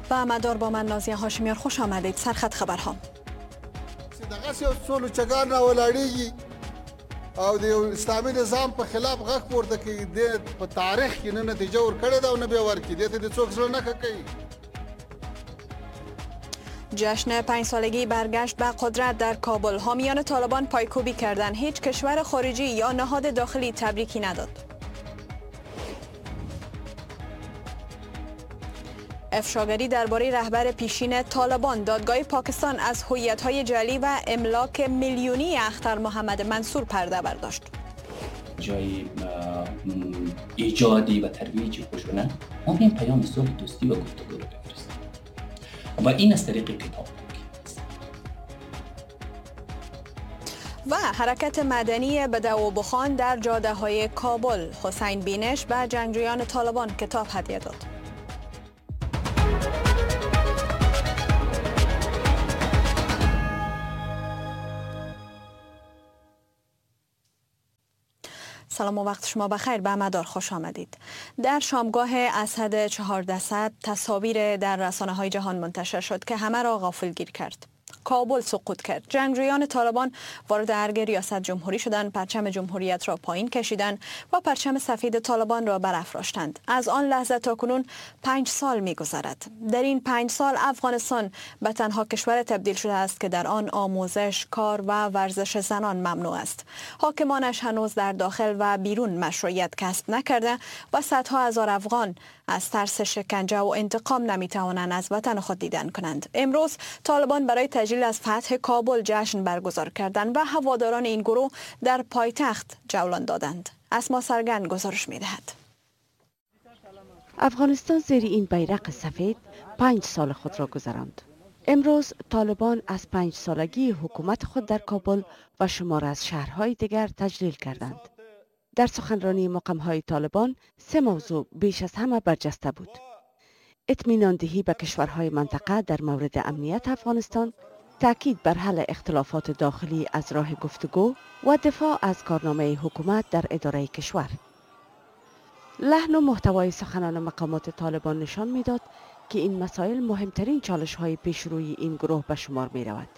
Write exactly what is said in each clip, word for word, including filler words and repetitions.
و مدار با من نازیه هاشمیار خوش آمدید. سرخط خبرها. دغسې یو څو لوچګان راولاړېږي او د یو اسلامي نظام په خلاف غږ پورته کوي، دې په تاریخ کې نه نتیجه ورکړې ده او نه بیا ورکړي، دې ته دې څوک زړه نه ښه کوي. جشن پنج سالگی برگشت به قدرت در کابل، حامیان طالبان پایکوبی کردند، هیچ کشور خارجی یا نهاد داخلی تبریکی نداد. افشاگری درباره رهبر پیشین طالبان، دادگاه پاکستان از هویت‌های جعلی و املاک میلیونی اختر محمد منصور پرده برداشت. جای ایجادی و ترویج خشونت، ما این پیام صلح، دوستی و گفتگو رو بفرستیم و این از طریق کتاب و حرکت مدنی بدو بخان در جاده های کابل، حسین بینش به جنگجویان طالبان کتاب هدیه داد. سلام و وقت شما بخیر، به مدار خوش آمدید. در شامگاه اسد چهارده تصاویر در رسانه های جهان منتشر شد که همه را غافلگیر کرد. کابل سقوط کرد. جنگجویان طالبان وارد ارگ ریاست جمهوری شدند، پرچم جمهوریت را پایین کشیدند و پرچم سفید طالبان را برافراشتند. از آن لحظه تا کنون پنج سال می‌گذرد. در این پنج سال افغانستان به تنها کشور تبدیل شده است که در آن آموزش، کار و ورزش زنان ممنوع است. حاکمانش هنوز در داخل و بیرون مشروعیت کسب نکرده و صدها هزار افغان از ترس شکنجه و انتقام نمی‌توانند از وطن خود دیدن کنند. امروز طالبان برای تجلیل از فتح کابل جشن برگزار کردند و هواداران این گروه در پایتخت جولان دادند. اسما سرگن گزارش می‌دهد. افغانستان زیر این بیرق سفید پنج سال خود را گذراند. امروز طالبان از پنج سالگی حکومت خود در کابل و شمار از شهرهای دیگر تجلیل کردند. در سخنرانی مقام‌های طالبان سه موضوع بیش از همه برجسته بود: اطمینان دهی به کشورهای منطقه در مورد امنیت افغانستان، تاکید بر حل اختلافات داخلی از راه گفتگو و دفاع از کارنامه حکومت در اداره کشور. لحن و محتوای سخنان مقامات طالبان نشان میداد که این مسائل مهمترین چالش‌های پیشروی این گروه به شمار می‌رود.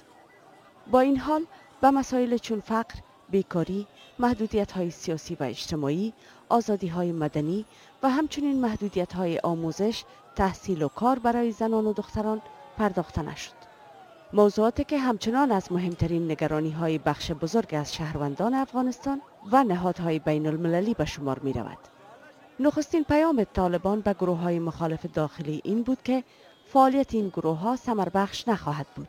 با این حال به مسائل چون فقر، بیکاری، محدودیت‌های سیاسی و اجتماعی، آزادی‌های مدنی و همچنین محدودیت‌های آموزش، تحصیل و کار برای زنان و دختران پرداخته نشد. موضوعاتی که همچنان از مهمترین نگرانی‌های بخش بزرگ از شهروندان افغانستان و نهادهای بین المللی به شمار می‌رود. نخستین پیام طالبان به گروه‌های مخالف داخلی این بود که فعالیت این گروه‌ها ثمربخش نخواهد بود.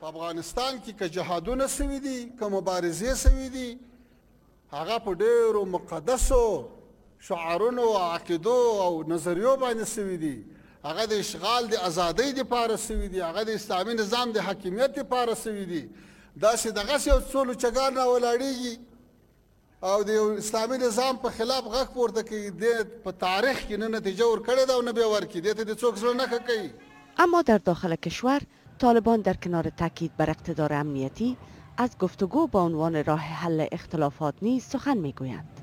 په افغانستان کې که جهادونه سوي دي، که مبارزې سوي دي، هغه په ډېرو مقدسو شعارونو او عقیدو او نظریو باندې سوي دي، هغه د اشغال د ازادۍ دپاره سوي دي، هغه د اسلامي نظام د حاکمیت دپاره سوي دي. داسې دغسې یو څو لوچګان راولاړېږي او د یو اسلامي نظام په خلاف غږ پورته کوي، دې په تاریخ کې نه نتیجه ورکړې ده او نه بیا ورکړي، دې ته دې څوک زړه نه ښه کوي. اما در داخل کشور طالبان در کنار تاکید بر اقتدار امنیتی از گفتگو با عنوان راه حل اختلافات نیز سخن میگویند.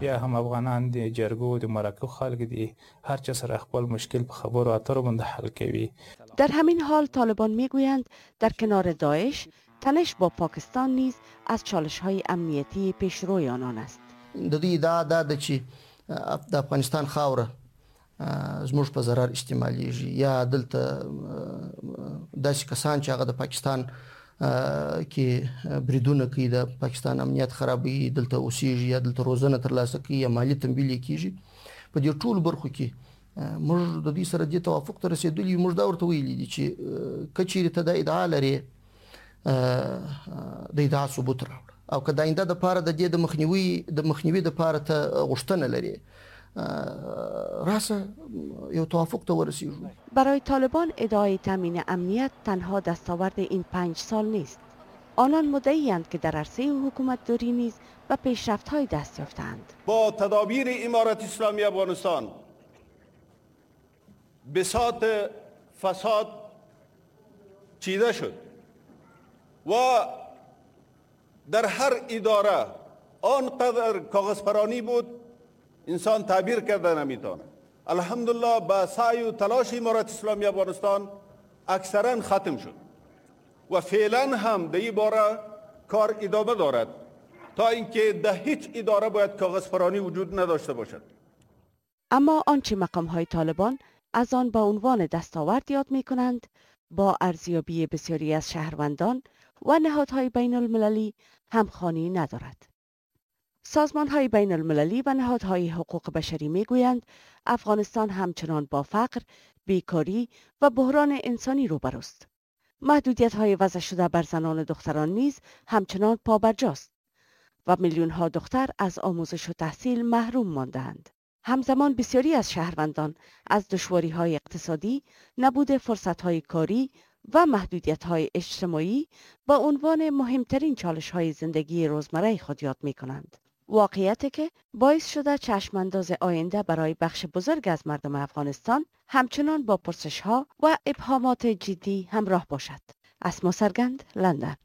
بیا هم افغانان د جرګو د مرکو خلک دي، هر چا سره خپل مشکل په خبرو اترو باندې حل کوي. در همین حال طالبان میگویند در کنار داعش تنش با پاکستان نیز از چالش‌های امنیتی پیشروی آنان است. د دوی ادعا دا ده چې د افغانستان خاوره زموږ په ضرر استعمالیږي، یا دلته داسې کسان چې هغه د پاکستان کې بریدونه کوي، د پاکستان امنیت خرابوي، دلته اوسیږي یا دلته روزنه ترلاسه کوي یا مالي تمویل یې کیږي. په دې ټولو برخو کې موږ د دوی سره دې توافق ته رسېدلي یو. موږ دا ورته ویلي دي چې که چیرې ته دا ادعا لرې، د ادعا ثبوت راوړه، او که د آینده دپاره د دې د مخنیوي د مخنیوي دپاره ته غوښتنه لرې، راسه یو توافق ته ورسیږو. برای طالبان ادعای تامین امنیت تنها دستاورد این پنج سال نیست. آنان مدعی‌اند که در عرصه حکومتداری نیز به پیشرفت‌های دست یافته‌اند. با تدابیر امارت اسلامی افغانستان بساط فساد چیده شد و در هر اداره آنقدر کاغذپرانی بود انسان تعبیر کرده نمیتونه. الحمدلله با سعی و تلاش امارت اسلامی افغانستان اکثرا ختم شد و فعلا هم در این باره کار ادامه دارد تا اینکه در هیچ اداره باید کاغذ پرانی وجود نداشته باشد. اما آنچه مقام های طالبان از آن با عنوان دستاورد یاد می کنند با ارزیابی بسیاری از شهروندان و نهادهای بین المللی همخوانی ندارد. سازمان های بین المللی و نهادهای حقوق بشری می گویند افغانستان همچنان با فقر، بیکاری و بحران انسانی روبروست. محدودیت های وضع شده بر زنان و دختران نیز همچنان پابرجاست و میلیون ها دختر از آموزش و تحصیل محروم ماندند. همزمان بسیاری از شهروندان از دشواری های اقتصادی، نبود فرصت های کاری و محدودیت های اجتماعی با عنوان مهمترین چالش های زندگی روزمره خود یاد می کنند. واقعیتی که باعث شده چشمانداز آینده برای بخش بزرگ از مردم افغانستان همچنان با پرسش ها و ابهامات جدی همراه باشد. اسما سرگند، لندن.